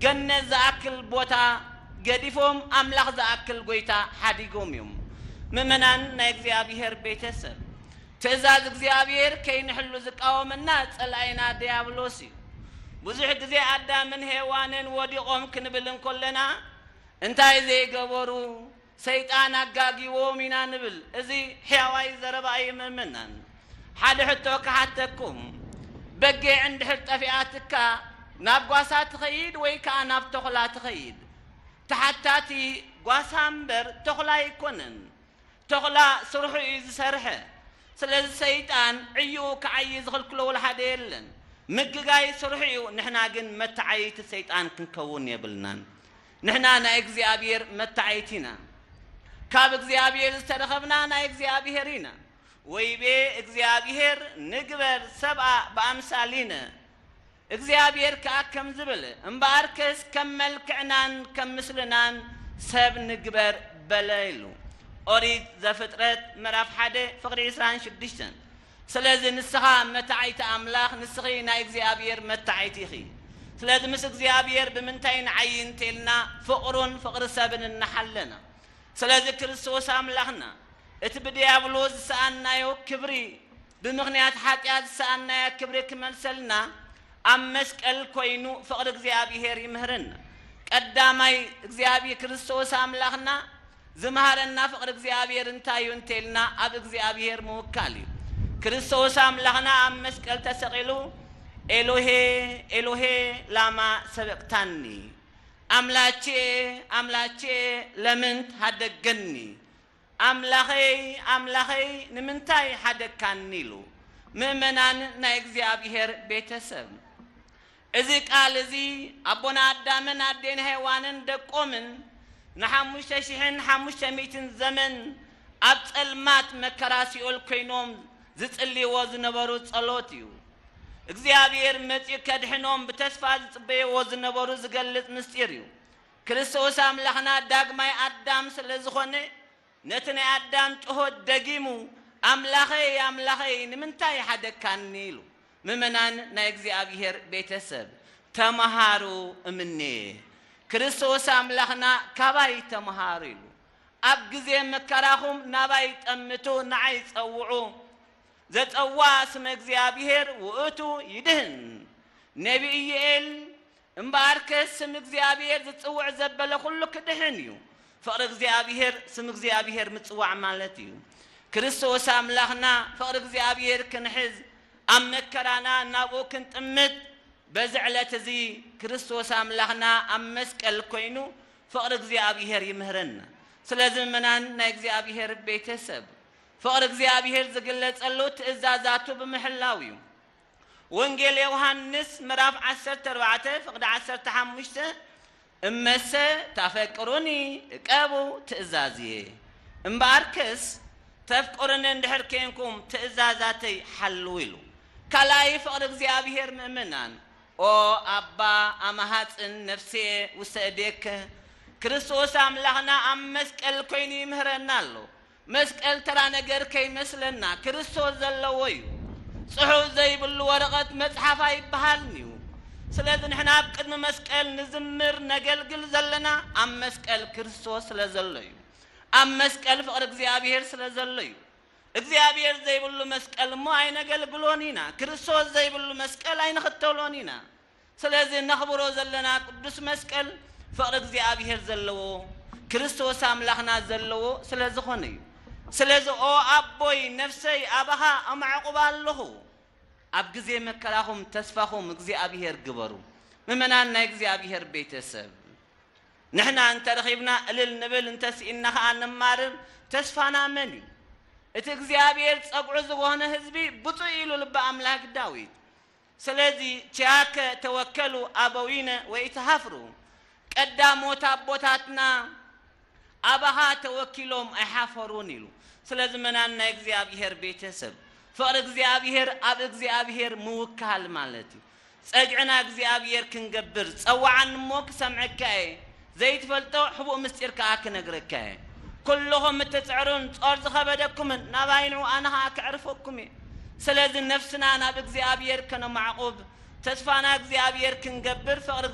ገነት ዝኣክል ቦታ ገዲፎም ኣምላኽ ዝኣክል ጎይታ ሓዲጎም እዮም። ምእመናን ናይ እግዚኣብሔር ቤተሰብ፣ ትእዛዝ እግዚኣብሔር ከይንሕሉ ዝቃወመና ጸላኢና ድያብሎስ እዩ። ብዙሕ ግዜ ኣዳምን ሄዋንን ወዲቖም ክንብል እንኮለና እንታይ ዘይገበሩ? ሰይጣን ኣጋጊዎም ኢና ንብል። እዚ ሕያዋይ ዘረባ እዩ ምእመናን። ሓደ ሕቶ ክሓተኩም። በጊዕ እንድሕር ጠፊኣትካ ናብ ጓሳ ትኸይድ ወይ ከኣ ናብ ተኹላ ትኸይድ? ተሓታቲ ጓሳ እምበር ተኹላ ኣይኮነን። ተኹላ ስርሑ እዩ ዝሰርሐ። ስለዚ ሰይጣን ዕይኡ ክዓዪ ዝኽልክሎ ወላ ሓደ የለን። ምግጋይ ስርሑ እዩ። ንሕና ግን መተዓይቲ ሰይጣን ክንከውን የብልናን። ንሕና ናይ እግዚኣብሔር መተዓይቲ ኢና። ካብ እግዚኣብሔር ዝተረኸብና ናይ እግዚኣብሔር ኢና። ወይቤ እግዚኣብሔር ንግበር ሰብኣ ብኣምሳሊነ። እግዚኣብሔር ከኣ ከም ዝብል፣ እምበኣርከስ ከም መልክዕናን ከም ምስልናን ሰብ ንግበር በለ ኢሉ። ኦሪት ዘፍጥረት ምዕራፍ ሓደ ፍቕዲ ዕስራን ሽዱሽተን። ስለዚ ንስኻ መታዓይቲ ኣምላኽ፣ ንስኺ ናይ እግዚኣብሔር መታዓይቲ ኢኺ። ስለዚ ምስ እግዚኣብሔር ብምንታይ ንዓዪ እንተልና ፍቕሩን ፍቕሪ ሰብን እናሓለና። ስለዚ ክርስቶስ ኣምላኽና እቲ ብድያብሎስ ዝሰኣናዮ ክብሪ፣ ብምኽንያት ሓጢኣት ዝሰኣናዮ ክብሪ ክመልሰልና ኣብ መስቀል ኮይኑ ፍቕሪ እግዚኣብሔር ይምህረና። ቀዳማይ እግዚኣብሔር ክርስቶስ ኣምላኽና ዝመሃረና ፍቕሪ እግዚኣብሔር እንታይ እዩ እንተልና ኣብ እግዚኣብሔር ምውካል እዩ። ክርስቶስ ኣምላኽና ኣብ መስቀል ተሰቒሉ ኤሎሄ ኤሎሄ ላማ ሰበቅታኒ፣ ኣምላቼ ኣምላቼ ለምን ሃደገኒ፣ ኣምላኸይ ኣምላኸይ ንምንታይ ሓደግካኒ ኢሉ። ምእመናን ናይ እግዚኣብሔር ቤተሰብ፣ እዚ ቃል እዚ ኣቦና ኣዳምን ኣዴን ሄዋንን ደቆምን ንሓሙሽተ ሽሕን ሓሙሽተ ሚእትን ዘመን ኣብ ጸልማት መከራ ሲኦል ኮይኖም ዝጽልይዎ ዝነበሩ ጸሎት እዩ። እግዚኣብሔር መጺኡ ከድሕኖም ብተስፋ ዝጽበይዎ ዝነበሩ ዝገልጽ ምስጢር እዩ። ክርስቶስ ኣምላኽና ዳግማይ ኣዳም ስለ ዝኾነ ነቲ ናይ ኣዳም ጩኸት ደጊሙ ኣምላኸይ ኣምላኸይ ንምንታይ ሓደግካኒ ኢሉ። ምእመናን ናይ እግዚኣብሔር ቤተሰብ ተመሃሩ እምኔ። ክርስቶስ ኣምላኽና ካባይ ተመሃሩ ኢሉ። ኣብ ግዜ መከራኹም ናባይ ጠምቱ ንዓይ ጸውዑ። ዘጸዋ ስመ እግዚኣብሔር ውእቱ ይድህን። ነቢ ኢዩኤል እምበኣርከ ስም እግዚኣብሔር ዝጽውዕ ዘበለ ኩሉ ክድሕን እዩ። ፍቕሪ እግዚኣብሔር ስም እግዚኣብሔር ምጽዋዕ ማለት እዩ። ክርስቶስ ኣምላኽና ፍቕሪ እግዚኣብሔር ክንሕዝ ኣብ መከራና ናብኡ ክንጥምት በዚ ዕለት እዚ ክርስቶስ ኣምላኽና ኣብ መስቀል ኮይኑ ፍቕሪ እግዚኣብሔር ይምህረና። ስለዚ ምእመናን ናይ እግዚኣብሔር ቤተሰብ ፍቕሪ እግዚኣብሔር ዝግለጸሉ ትእዛዛቱ ብምሕላው እዩ። ወንጌል ዮሃንስ ምዕራፍ ዓሰርተ ኣርባዕተ ፍቕዲ ዓሰርተ ሓሙሽተ እመሰ ታፈቅሩኒ እቀቡ ትእዛዝየ። እምበኣርከስ ተፍቅሩኒ እንድሕር ኬንኩም ትእዛዛተይ ሓልዉ ኢሉ። ካልኣይ ፍቕሪ እግዚኣብሔር ምእመናን። ኦ ኣባ ኣማሃጽን ነፍስየ ውሰእዴከ። ክርስቶስ ኣምላኽና ኣብ መስቀል ኮይኑ ይምህረና ኣሎ። መስቀል ተራ ነገር ከይመስለና ክርስቶስ ዘለዎ እዩ። ጽሑፍ ዘይብሉ ወረቐት መጽሓፍ ኣይበሃልን እዩ። ስለዚ ንሕና ኣብ ቅድሚ መስቀል ንዝምር ነገልግል ዘለና ኣብ መስቀል ክርስቶስ ስለ ዘሎ እዩ። ኣብ መስቀል ፍቕሪ እግዚኣብሔር ስለ ዘሎ እዩ። እግዚኣብሔር ዘይብሉ መስቀል እሞ ኣይነገልግሎን ኢና። ክርስቶስ ዘይብሉ መስቀል ኣይንኽተሎን ኢና። ስለዚ ነኽብሮ ዘለና ቅዱስ መስቀል ፍቕሪ እግዚኣብሔር ዘለዎ ክርስቶስ ኣምላኽና ዘለዎ ስለ ዝኾነ እዩ። ስለዚ ኦ ኣቦይ ነፍሰይ ኣባኻ ኣማዕቑባ ኣለኹ። ኣብ ግዜ መከራኹም ተስፋኹም እግዚኣብሔር ግበሩ። ምእመናን ናይ እግዚኣብሔር ቤተሰብ ንሕና እንተረኺብና እልል ንብል እንተስኢንና ኸኣ ንማርር። ተስፋና መን እዩ? እቲ እግዚኣብሔር ጸግዑ ዝኾነ ህዝቢ ብፁዕ ኢሉ ልበ ኣምላክ ዳዊት። ስለዚ ኪያከ ተወከሉ ኣበዊነ ወኢትሃፍሩ። ቀዳሞት ኣቦታትና ኣባኻ ተወኪሎም ኣይሓፈሩን ኢሉ። ስለዚ ምእመናን ናይ እግዚኣብሔር ቤተሰብ ፍቕሪ እግዚኣብሔር ኣብ እግዚኣብሔር ምውካል ማለት እዩ። ጸግዕና እግዚኣብሔር ክንገብር ጸውዓኒ እሞ ክሰምዐካ እየ። ዘይትፈልጦ ሕቡእ ምስጢር ከኣ ክነግረካ እየ። ኩልኹም እትጽዕሩን ጾር ዝኸበደኩምን ናባይ ንዑ ኣነ ኸኣ ከዕርፈኩም እየ። ስለዚ ነፍስና ናብ እግዚኣብሔር ከነማዕቑብ ተስፋና እግዚኣብሔር ክንገብር ፍቕሪ